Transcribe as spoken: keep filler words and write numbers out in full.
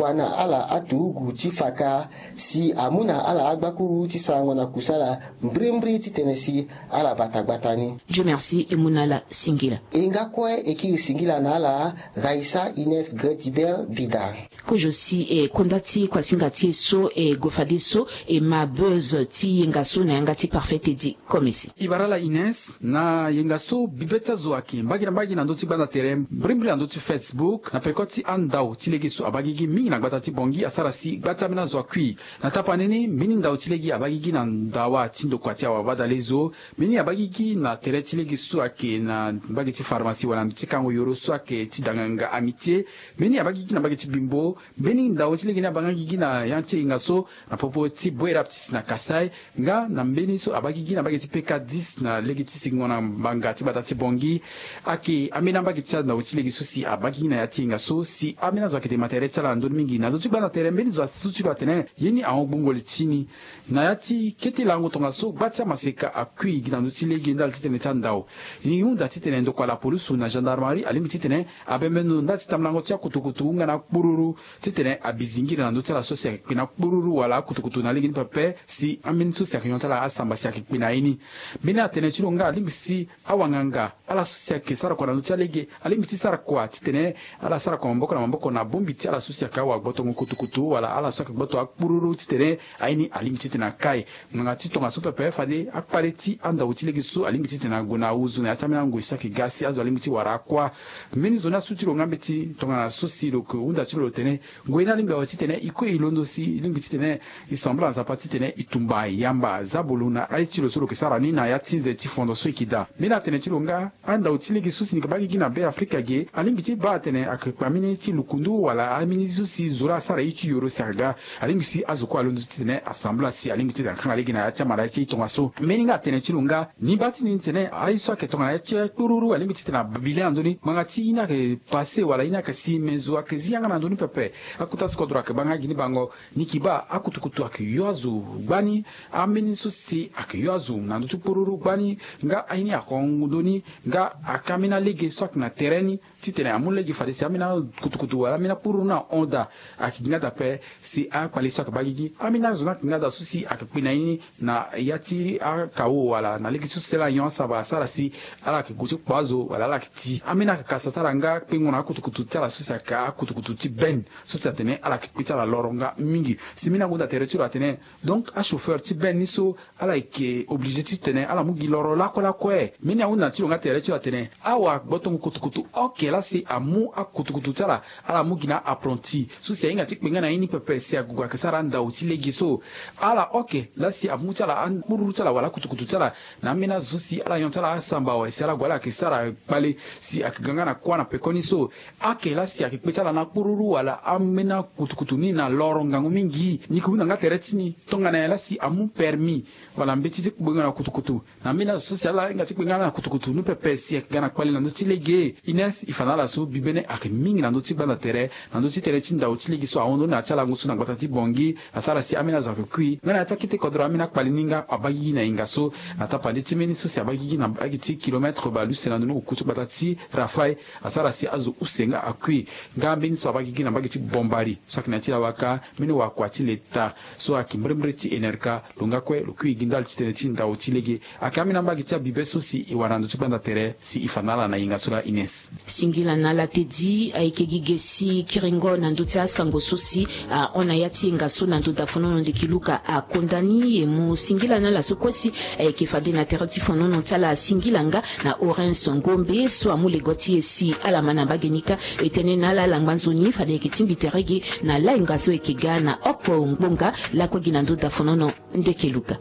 Wa na ala aturugu ti faka si amu na ala agbakuru ti sarango na kusala mbrimbri titene si ala bata gbata ni. Dieu merci e mu na ala singila. E nga kue e kiri singila na ala. Raisa Ines Gretibel Bida. Kozo si e konda ti kuasinga ti e so e gue fadeso e ma buzz ti yenga so na yanga ti Parfait Teddy Komisi. E bara ala Ines, na yenga so bibe ti azo ayeke mbage na mbage na ndö ti gbanda tere mbrimbri na ndö ti Facebook na peko ti andau ti lege so abaa gigi mingi na gbata ti Bangui asara si gba ti ambeni azo akui. Na tapani ni mbeni ndau ti lege abaa gigi na ndawa ti ndokua ti awabadalezo. Mbeni abaa gigi na tere ti lege so ayeke na mbage ti pharmacie wala na ndö ti kango yoro so ayeke ti danganga Amitié. Mbeni abaa gigi na mbage ti Bimbo. Mbeni ndau ti lege ni abaa nga gigi na ya ti yenga so na popo ti Boerap ti si na Kasaï. Nga na mbeni so abaa gigi na mbage ti P K dix na lege ti singo na mbanga ti gbata ti Bangui. Ayeke ambeni ambage ti andau ti lege so si abaa gigi na ya ti yenga so si ambeni azo ayeke dema tere ti ala na ndö ni mingi na ndö ti gbanda tere mbeni zo asi so ti lo atene ye ni ahon gbungo li ti ni. Na ya ti kete lango tongaso gba ti amaseka akui gi na ndö ti lege ndali titene ti andau. E hunda titene ndokua lapolusu na gendarmerie alingbi titene abembe ndo ndali ti tambulango ti akutukutu hunda na akpururu titene abi zingiri na ndö ti ala so si ayeke kpe na akpururu wala akutukutu na lege ni pepe si ambeni so si ayeke nyon ti ala asamba si ayeke kpe na ye ni. Mbeni atene ti lo nga alingbi si awanganga ala so si ayeke sara kua na ndö ti alege alingbi ti sara kua titene ala sara kua maboko na maboko na bongbi ti ala so si ayeke awagbotongo kutukutu wala ala so ayeke gboto akpururu titene aye ni alingbi titene akai. Ngbanga ti tongaso pepe fade akpale ti andau ti lege so alingbi titene ague na ahuzu na ya ti ambeni angoi so ayeke ga si azo alingbi ti wara akua. Mbeni zo ni asu ti lo nga mbeti tongana so si lo yeke hunda ti lo lo tene ngoi ni alingbi awe titene e kue e londo si e lingbi titene e sambela Nzapa titene e tumba yamba zabolo na aye ti lo so lo yeke sara ni na ya ti nze ti fondo so e yeke daa. Mbeni atene ti lo nga andau ti lege so si ni yeke baa gigi na Be Afrika ge alingbi ti baa atene ayeke kpe ambeni ti lukundu wala ambeni so si zo laa asara ye ti yoro si aga. Alingbi si azo kue alondo titene asambela si alingbi titene akanga lege na ya ti amara ye ti e tongaso. Mbeni nga atene ti lo nga ni baa ti ni titene aye so ayeke tongana ye ti kpururu alingbi titene ababile na ndö ni ngbanga ti ye ni ayeke pase wala ye ni ayeke si me zo ayeke zi yanga na ndö ni pepe. Akota si kodro ayeke baa nga gi ni bango. Ni yeke baa akutukutu ayeke yo azo gbani. Ambeni so si ayeke yo azo na ndö ti kpururu gbani. Nga aye ni ahon ndö ni nga ayeke ambeni alege so ayeke na tere ni titene amu lege fade si ambeni akutukutu wala ambeni akpururu ni ahon daa. Ayeke gi nga daa ape si akpale so ayeke baa gigi ambeni azo ni ayeke nga daa so si ayeke kpe na ye ni na ya ti akao wala na lege ti so si ala nyon asaba asara si ala yeke gue ti kpo azo wala ala yeke ti ambeni ayeke kasa ti ala nga kpengo na akutukutu ti ala so si ayeke akutukutu ti benne so si atene ala yeke kpe ti ala loro nga mingi. Si mbeni ahunda tere ti lo atene donc achauffeur ti benne ni so ala yeke oblige titene ala mu gi loro lakue lakue. Mbeni ahunda ti lo nga tere ti lo atene awagbotongo kutukutu oke laa si amu akutukutu ti ala ala mu gi na apprenti so si ahinga ti kpe nga na ye ni pepe si ague ayeke sara andau ti lege so. Ala oke laa si amu ti ala akpururu ti ala wala akutukutu ti ala na ambeni azo so si ala nyon ti ala asamba awe si ala gue ala yeke sara kpale si ayeke ga nga na kuâ na pekoni so. Ake laa si ayeke kpe ti ala na akpururu wala ambeni akutukutu ni na loro ngangu mingi. Ni yeke hunda nga tere ti ni tongana nyen laa si amu permis wala mbeti ti kpengo na kutukutu na mbeni azo so si ala hinga ti kpe nga na kutukutu ni pepe si ayeke ga na kpale na ndö ti lege. Ines e fa na ala so bibene ayeke mingi na ndö ti gbanda tere na ndö ti tere ti ndau ti lege so ahon ndoni na ya ti alango so na gbata ti Bangui. Asara si ambeni azo ayeke kui nga na ya ti akete kodro ambeni akpale ni nga abaa gigi na yenga so. Na tapande ti mbeni so si abaa gigi na mbage ti kilomètre bale use na ndoni oku ti gbata ti Rafaï. Asara si azo use nga akui. Nga mbeni so abaa gigi na mbage ti Bombari so ayeke na ya ti Lawaka. Mbeni wakua ti leta so ayeke mbrimbri ti Enerka lo nga kue lo kui gi ndali ti tene ti ndau ti lege. Ayeke ambeni ambage ti abibe so si e wara na ndö ti gbanda tere si e fa na ala na yenga so laa Ines. Singila na ala Teddy. Ayeke gi ge si kiringo na ndö ti asango so si ahon na ya ti yenga so na ndö dafonono ndeke Luka akonda ni e mu singila na ala so kue si ayeke fade na tere ti fonono ti ala singila nga na Orens Ngombe so amu lego ti e si ala ma na mbage ni kâ. E tene na ala ala ngba nzoni fade ayeke tingbi tere ge na layenga so ayeke ga na oko ngbonga lakue gi na ndö dafonono ndeke Luka.